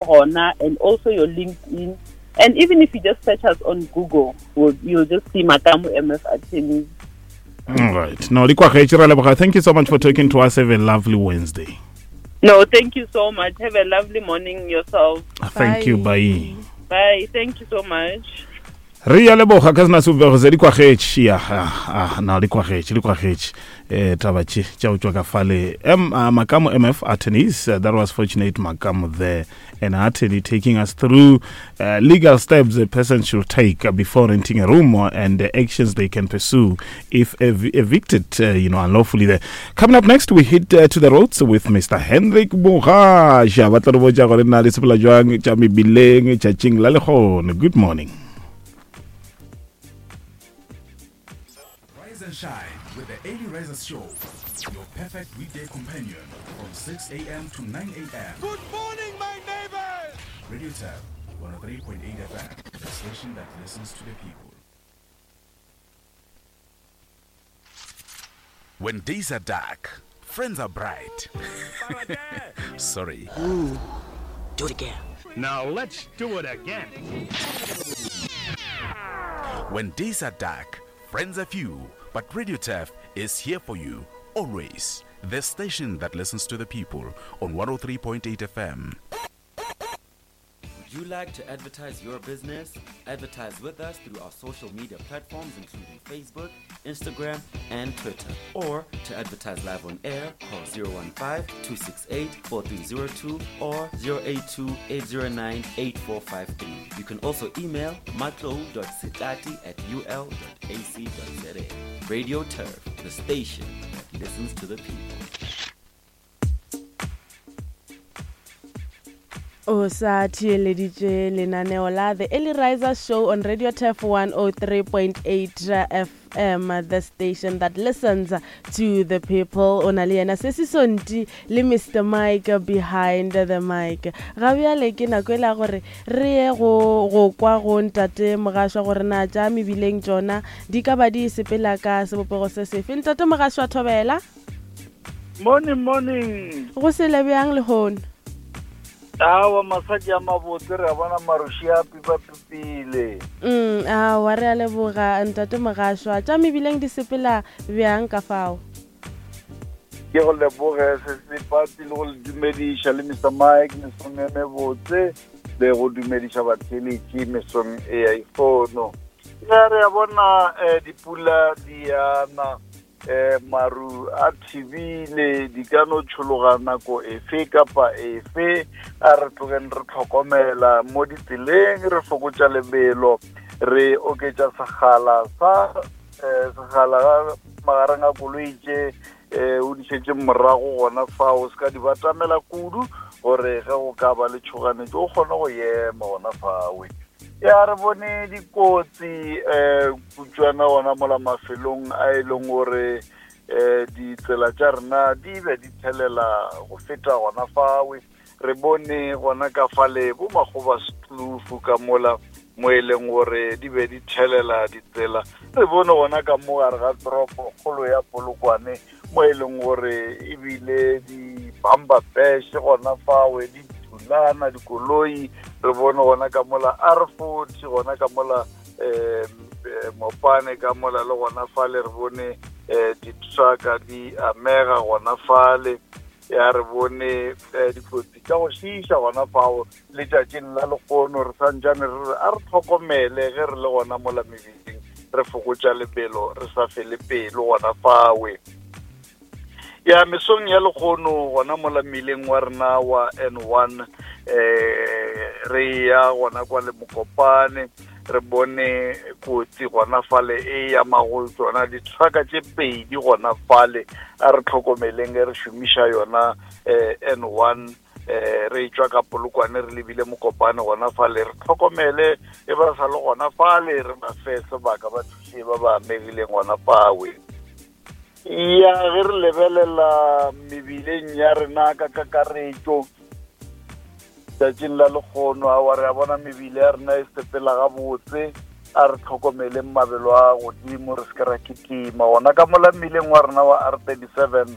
Gona, and also your LinkedIn. And even if you just search us on Google, you'll just see Makamu MF Attorneys. All right. No, thank you so much for talking to us. Have a lovely Wednesday. No, thank you so much. Have a lovely morning yourself. Thank you. Bye. Bye. Thank you so much. Re ya leboga ka sena sebopego se di kwagetše ya ah, na di kwagetše di kwagetše eh taba tše tša go tšwa ka fale m uh, Makamo MF attorneys, that was Fortunate Makamo there, an attorney taking us through legal steps a person should take before renting a room and the actions they can pursue if evicted unlawfully there. Coming up next, we hit to the roads with Mr. Hendrik Mogasha. Ba tla re botša gore na le sepela jwang tša mebileng tšatšing la lehono. Good morning. Rise and shine with the Early Risers Show, your perfect weekday companion from 6 a.m. to 9 a.m. Good morning, my neighbors! Radio Tab, 103.8 FM, the station that listens to the people. When days are dark, friends are bright. Sorry. Ooh, do it again. Now let's do it again. When days are dark, friends are few, but Radio Turf is here for you always. The station that listens to the people on 103.8 FM. Would you like to advertise your business? Advertise with us through our social media platforms, including Facebook, Instagram, and Twitter. Or to advertise live on air, call 015-268-4302 or 082-809-8453. You can also email matlo.sitati at ul.ac.za. Radio Turf, the station that listens to the people. O sa theeleditše lenaneo la The Early Riser Show on Radio Turf 103.8 FM, the station that listens to the people. O na le yena Sesi Sonti le Mr Mike behind the mic. Ga bjale ke nako e la gore re ye go go kwa go ntate Mogašwa gore na tša mebileng tšona di ka ba di sepela ka sebopego se sefe. Ntate Mogašwa, thobela. Morning, morning. Go sele bjang lehono? Awa, masadi a mabotse, re a bona maroši a pipapipile. Awa, re a leboga ntate Mogašwa. Tša mebileng di sepela bjang ka fao? Ke go leboge se sepati le go le dumediša le Mr Mike mesong e mebotse le go dumediša batheeletši mesong e ya ifono. Ya re a bona eh, dipula di yana um maru a thibile di ka no tšhologa nako efe kapa efe. A re tlogeng re tlhokomela mo ditseleng, re fokotša lebelo, re oketša segala sa um segala magareng a koloi tše um o di šetše morago gona fao, se ka di batamela kudu gore ge go ka ba le tšhoganetšo o kgone go ema gona fawe. Ya re bone dikotsi um kutšwana gona mola mafelong a e leng gore um ditsela tša rena di be di thelela go feta gona fawe. Re bone gona ka fale bo makgoba setlufu ka mola mo e leng gore di be di thelela ditsela. Re bone gona ka mo gare ga toropo kgolo ya Polokwane mo e leng gore ebile di bamba peshe gona fawe di thulana dikoloi. Re bone gona ka mola R40 gona ka mola um Mopane ka mola le gona fale re bone um ditrucka di amega gona fale. Ya re bone dikotsi tša go šiiša gona fao letšatšing la lehono. Re santšane re re a re tlhokomele ge re le gona mola mebileng, re fokotša lebelo, re sa fele pelo gona fawe. Ya mesong ya lehono gona mola mmileng wa rena wa N1 re ya gona kwa le Mokopane, re bone kotsi gona fale e ya mago tsona ditrucka tše pedi gona fale. A re tlhokomeleng ge re šomiša yona N1 re tšwa ka Polokwane re lebile Mokopane gona fale, re tlhokomele e ba sa le gona fale, re ba fe sebaka ba thuše ba ba amegileng gona fawe. Ya ge re lebelela mebileng ya rena ka kakaretšo tšatšing la lekgono, awa re a bona mebile ya rena e sepela gabotse. A re tlhokomeleng mabelo a godimo, re se ke ra kitima gona ka mola mmileng wa rena wa R37.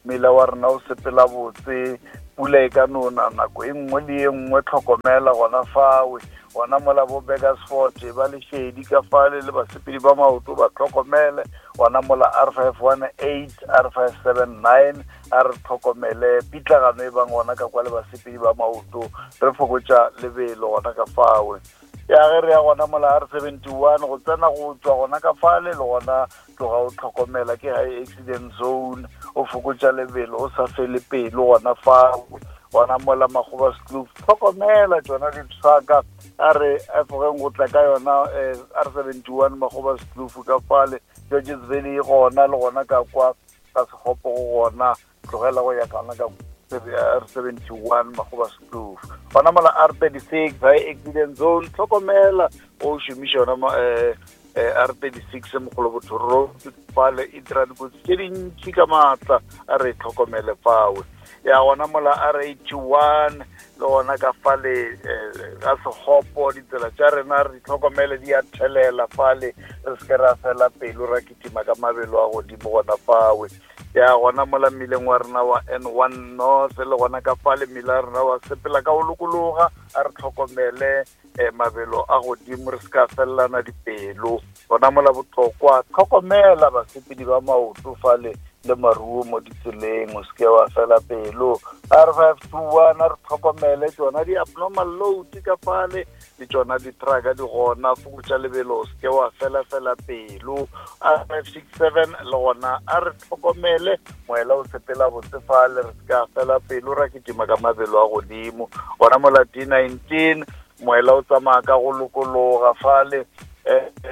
Mmila wa rena o sepela botse. Pula e ka no na nako e nngwe le ye nngwe, tlhokomela gona fawe. Gona mola bo Burgersfort ba lešedi ka fale le basepedi ba maoto ba tlhokomele. Gona mola R518, R579 a re tlhokomele pitlagano e bang gona ka kwa le basepedi ba maoto, re fokotša lebelo gona ka fawe. Ya ge re ya gona mola R71 go tsena go tšwa gona ka fale le gona tloga o tlhokomela ke high accident zone o fokotša lebelo o sa fele pelo gona fao gona mola makgoba sekloof tlhokomela tšona ditshaka a re efogeng go tla ka yona eh, r 71 makgoba sekloof ka fale georges valley e gona le gona ka kwa ka sekgopo go gona tlogela go ya kana ka R71 Makgoba Kloof gona mola R36 high accident zone tlhokomela o šomiša yona eh, eh, R36 mogolo road fale e dira dikotsi tše dintši ka maatla a re tlhokomele fawe ya gona mola R81 le gona ka fale eh, ga sekgopo ditsela tša rena re di tlhokomele di a thelela fale re se ke ra fela pelo ra kitima ka mabelo a godimo gona fawe ya gona mola mmileng wa rena wa N1 North le gona ka fale mmila rena wa sepela ka go lokologa a re tlhokomele eh, mabelo a godimo re se ka felelana dipelo gona mola botlokwa tlhokomela basepedi ba maoto fale le maruo mo ditseleng o seke wa fela pelo r 521 a re tlhokomele tsona di-abnormal load ka fale le tšona di-trucka di gona fokotša lebelo o seke wa fela fela pelo r 567 le gona a re tlhokomele moela o sepela botse fale re seke a fela pelo ra kitima ka mabelo a godimo gona mola d 19 moela o tsamaya ka go lokologa fale um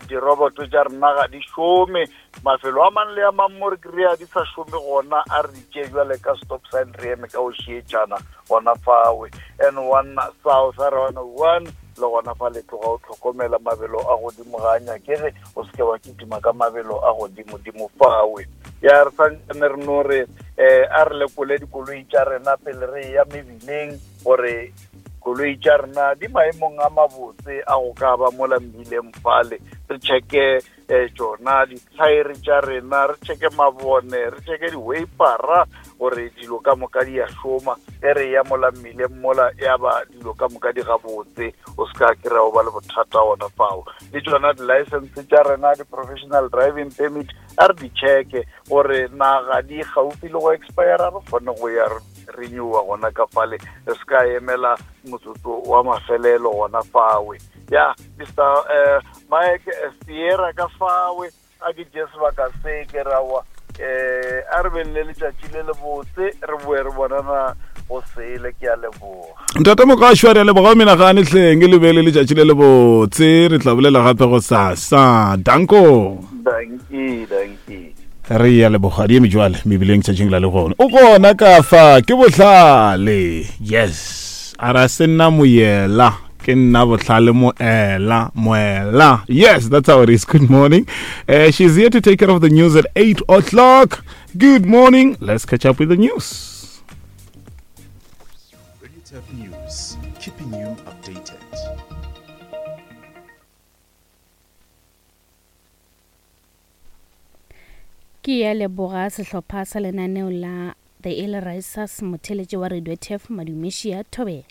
diroboto tša rena ga di šome mafelo a mang le a mang mo re kry-a di sa šome gona a re tšee jale ka stop sign re eme ka go šietšana gona fawe n one south r one one le gona fa le tloga o tlhokomela mabelo a godimo ga a nyakege o seke wa kitima ka mabelo a godimodimo fawe ya re santsane re no re um a re lekole dikoloi tša rena pele re ya mebileng gore koloi tša rena di maemong a mabotse a go ka ba mola mebileng fale re checke um tšona dithaere tša rena re checke mabone re checke di-wapera gore dilo ka moka di a šoma ge re ya mola mmileng mola ya ba dilo ka moka di gabotse o se ka kry-a o ba le bothata gona fao le tšona di-license tša rena di-professional driving permit a re di checke gore naga di gaufi le go expire re kgone go ya renewa gona ka fale re se ka emela motsotso wa mafelelo gona fawe ya mr uh, mike eh, sierra ka fawe a ke tšee sebaka se ke rawa eh a re beng le letšatši le lebotse re boe re bonana go sele ke a leboga ntate mokašwa re a leboga o menagane hleng le be le letšatši le lebotse re tla bolela gape go sasa danko danki danki re ya leboga di eme jwale mebileng tšatšing la legone o gona ka fa ke bohlale yes a ra se nna moyela ke nna bohlale moela moela yes that's how it is good morning uh, she's here to take care of the news at 8 o'clock good morning let's catch up with the news Radio Turf News, keeping you updated. Ke ya leboga sehlopha sa lenaneo la The Early Risers motheletše wa Radio Turf Madumešia Thobela.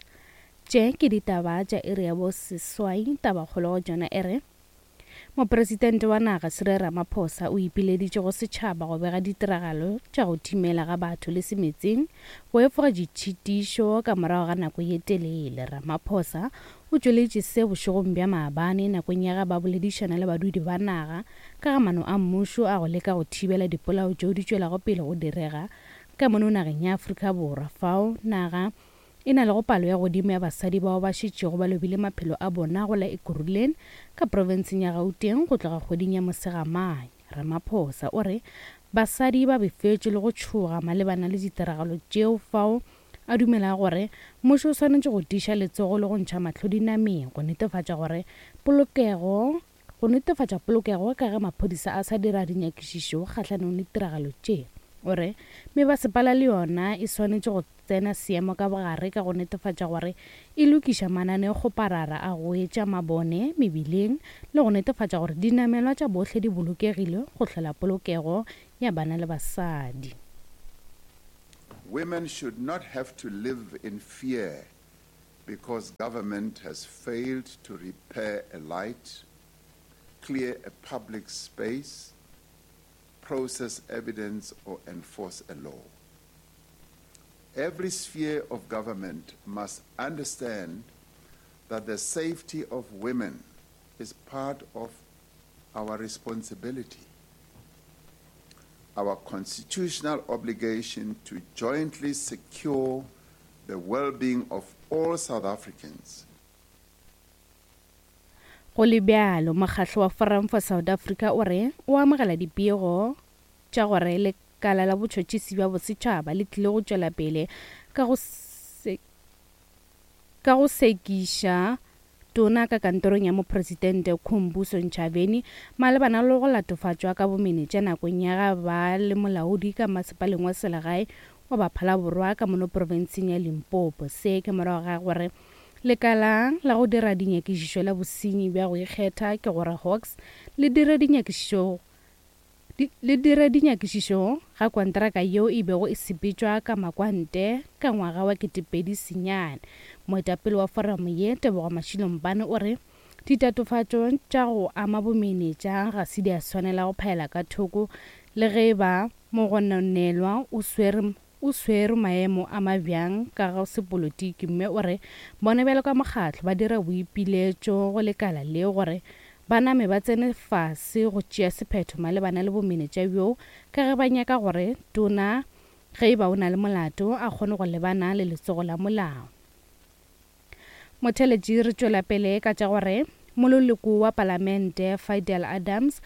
Tše ke ditaba tša iri ya bo seswai tabakgolo go tšona e re Mopresidente wa naga Cyril Ramaphosa o ipileditše go setšhaba go bega ditiragalo tša go timela ga batho le semetseng go efoga ditšhitišo ka morago ga nako ye telele. Ramaphosa o tšweletše se bošegong bja maabane nakong ya ge ba boledišana le badudi ba naga ka ga maano a mmušo a go leka go thibela dipolao tšeo di tšwelago pele go direga ka mono nageng ya Afrika Borwa fao naga e na lego palo ya godimo ya basadi bao ba šetšego ba lobile maphelo a bona go la Ekurhuleni ka profenseng ya Gauteng go tloga kgweding ya Mosegamanye. Ramaphosa o re basadi ba befetšwe le go tšhoga malebana le ditiragalo tšeo fao a dumelago gore mmušo o swanetše go tiiša letsogo le go ntšha mahlo dinameng go netefatša gore polokego go netefatša polokego ka ge maphodisa a sa dira dinyakišišo kgahlanong le ditiragalo tše. O re mebasepala le yona e swanetše go tsena seemo ka bogare ka go netefatša gore e lokiša mananeokgoparara a go etša mabone mebileng le go netefatša gore dinamelwa tša bohle di bolokegile go hlola polokego ya bana le basadi. Women should not have to live in fear because government has failed to repair a light, clear a public space, process evidence, or enforce a law. Every sphere of government must understand that the safety of women is part of our responsibility, our constitutional obligation to jointly secure the well-being of all South Africans. Go le bjalo, mokgahlo wa Forum for South Africa o re o amogela dipego tša gore lekala la botšhotšhisi bja bosetšhaba le tlile go tšwela pele ka go ka go sekiša tona ka kantorong ya mopresidente Khumbuso Ntshavheni malebana le go latofatšwa ka bomenetša nakong ya ga ba le molaodi ka masepaleng wa selegae wa Baphalaborwa ka mono profenseng ya Limpopo. Se ke morago ga gore lekala la go dira dinyakišišo la bosenyi bja go ikgetha ke gore Hawks le dire dinyakišišo le dire dinyakišišo ga kontraka yeo e bego e sepetšwa ka makwante ka ngwaga wa 2009. Moetapele wa foramo ye, Tebogo Mashilo-Mpane o re ditatofatšo tša go ama bomenetša ga se di a swanela go phaela ka thoko le ge e ba mogononelwa o swere o swere maemo a mabjang ka ga sepolotiki mme o re bona bjalo ka mokgatlo ba dira boipiletšo go lekala leo gore ba name ba tsene fase go tšea sephetho malebana le bomenetša bjoo ka ge ba nyaka gore tona ge e ba o na le molato a kgone go lebana le letsogo la molao. Motheeletši re tšwela pele ka tša gore mololoko wa palamente Fidel Adams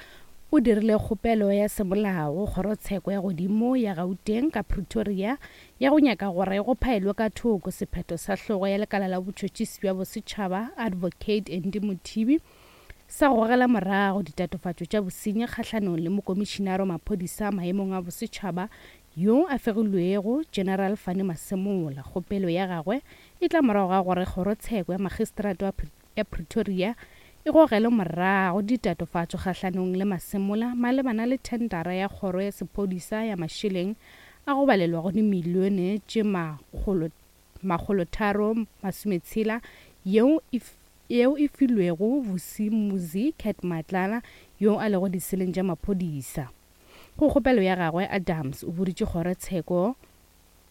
o dirile kgopelo ya semolao go kgorotsheko ya godimo ya Gauteng ka Pretoria ya go nyaka gore go phaelwe ka thoko sephetho sa hlogo ya lekala la botšhotšhisi bja bosetšhaba Advocate Andy Mothibi sa go gogela morago ditatofatšo tša bosenyi kgahlanong le mokomišinare wa maphodisa maemong a bosetšhaba yo a fegilwego General Fannie Masemola. Kgopelo ya gagwe e tla morago ga gore kgorotsheko ya magistrata ya Pretoria e gogele morago ditatofatšo kgahlanong le Masemola malebana le thendara ya kgoro ya sephodisa ya mašeleng a go balelwa go dimilione tše 360 yeo e yeo e filwego Vusimuzi Cat Matlala yo a lego diseleng tša maphodisa. Go kgopelo ya gagwe, Adams o boditše kgorotsheko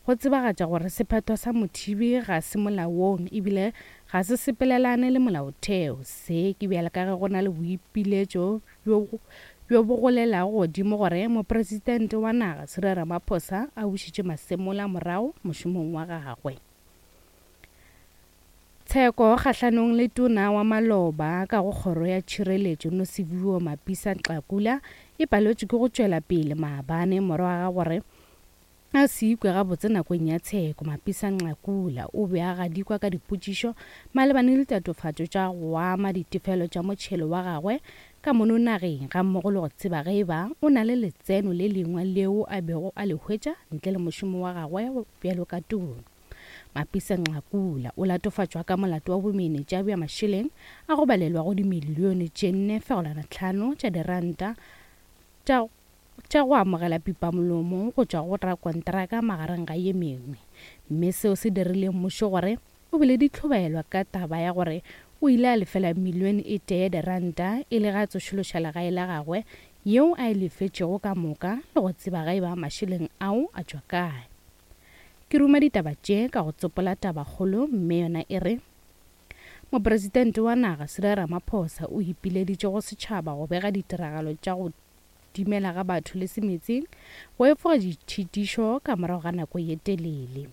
go tsebagatša gore sephetho sa Mothibi ga se molaong ebile ga se sepelelane le molaotheo. Se ke bjale ka ge go na le boipiletšo bjo bjo bo golelago godimo gore mopresidente wa naga Cyril Ramaphosa a bušetše Masemola morago mošomong wa gagwe. Tsheko kgahlanong le tona wa maloba ka go kgoro ya tšhireletšo Nosiviwe Mapisa-Nqakula e paletšwe ke go tšwela pele maabane morago ga gore A se ikwe gabotse nakong ya tsheko, Mapisa-Nqakula o be a gadikwa ka dipotšišo malebane le ditatofatšo tša go ama ditefelo tša motšhelo wa gagwe ka mono nageng gammogo le go tseba ge e ba o na le letseno le lengwe leo a bego a le hwetša ntle le mošomo wa gagwe bjalo ka tona. Mapisa-Nqakula o latofatšwa ka molato wa bomenetša bja mašeleng a go balelwago dimilione tše 4.5 tša diranta tša tša go amogela pipamolomo go tšwa go rakontraka magareng ga ye mengwe, mme seo se dirile mmušo gore o be le ditlhobaelwa ka taba ya gore o ile a lefela milione e tee ya diranta e le ge a tsošološa legae la gagwe yeo a e lefetšego ka moka le go tseba ge e ba mašeleng ao a tšwa kae. Ke ruma ditaba tše ka go tsopola tabakgolo mme yona e re, Mopresidente wa naga Cyril Ramaphosa o ipileditše go setšhaba go bega ditiragalo tša go timela ga batho le semetseng go efoga ditšhitišo ka morago ga nako ye telele.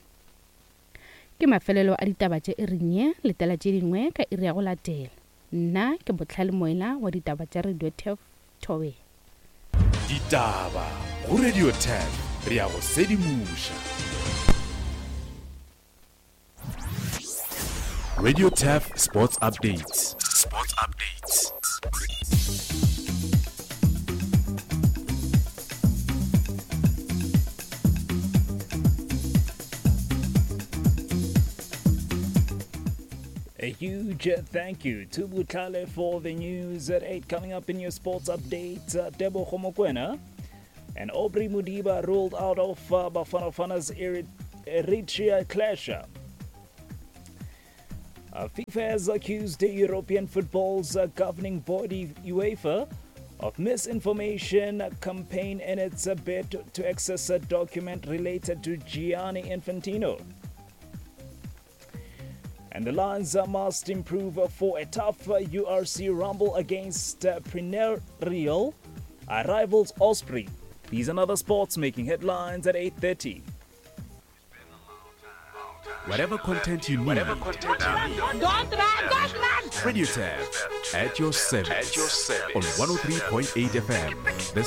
Ke mafelelo a ditaba tša iring ye, letela tše dingwe ka iri ya go latela. Nna ke Bohlale Moela wa ditaba tša Radio Turf Thobela. Ditaba go Radio Turf, re a go sedimoša. Radio Turf Sports Updates. Sports Updates. A huge thank you to Butlale for the news at 8 coming up in your sports update. Uh, Debo Mokoena and Aubrey Modiba ruled out of uh, Bafana Bafana's Eritrea clash. FIFA has accused the European football's governing body, UEFA, of misinformation campaign in its bid to access a document related to Gianni Infantino. And the Lions must improve for a tough URC rumble against perennial rivals Osprey. These and other sports making headlines at 8:30. Whatever content you need. Whatever content you need. Don't run, don't run. Radio Turf at your service. At your service. On 103.8 FM. The